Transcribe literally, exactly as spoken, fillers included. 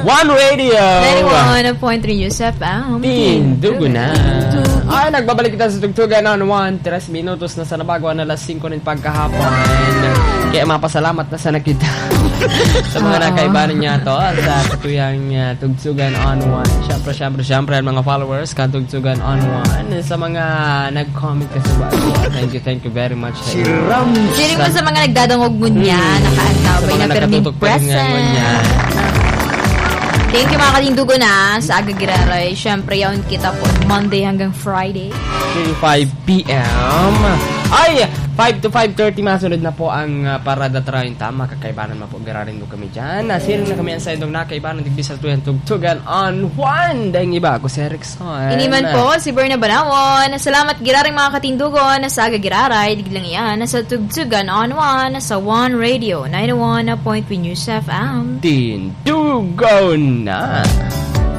One Radio. Ninety-one point three News F M. Tindugo na. Ay, nagbabalik kita sa Tugtugan on One. Tres minutos na sa nabago na alas singko ng pagkahapon. Kaya mapasalamat na sana kita sa mga Oo. nakaibanan niya to sa katuyang uh, Tugtugan on One. Siyempre, siyempre, siyempre, ang mga followers ka Tugtugan on One. Sa mga nag-comment ka sa bago. Thank you, thank you very much. Si Rams. Sino pa sa mga nagdadangog mo niya, Hmm. nakaantabay Sa mga na perming nakatutok pa rin ngayon present. Niya. Thank you, mga katindugo na sa Aga Giraray. Siyempre, yaon kita po Monday hanggang Friday. Till five p.m. Ay, five to five thirty masunod na po ang uh, Parada treinta. Makakaibanan mo po, girarin mo kami dyan. Nasiring na kami ang saindong nakaibanan, digdi sa tuyang Tugtugan on One. Dahil iba, ako si Erickson. Ini man po, si Berna Banawon. Salamat, giraring mga katindugo na sa Aga Giraray. Diglang iyan, nasa Tugtugan on One, sa One Radio, ninety-one point three News F M. Tindugo na.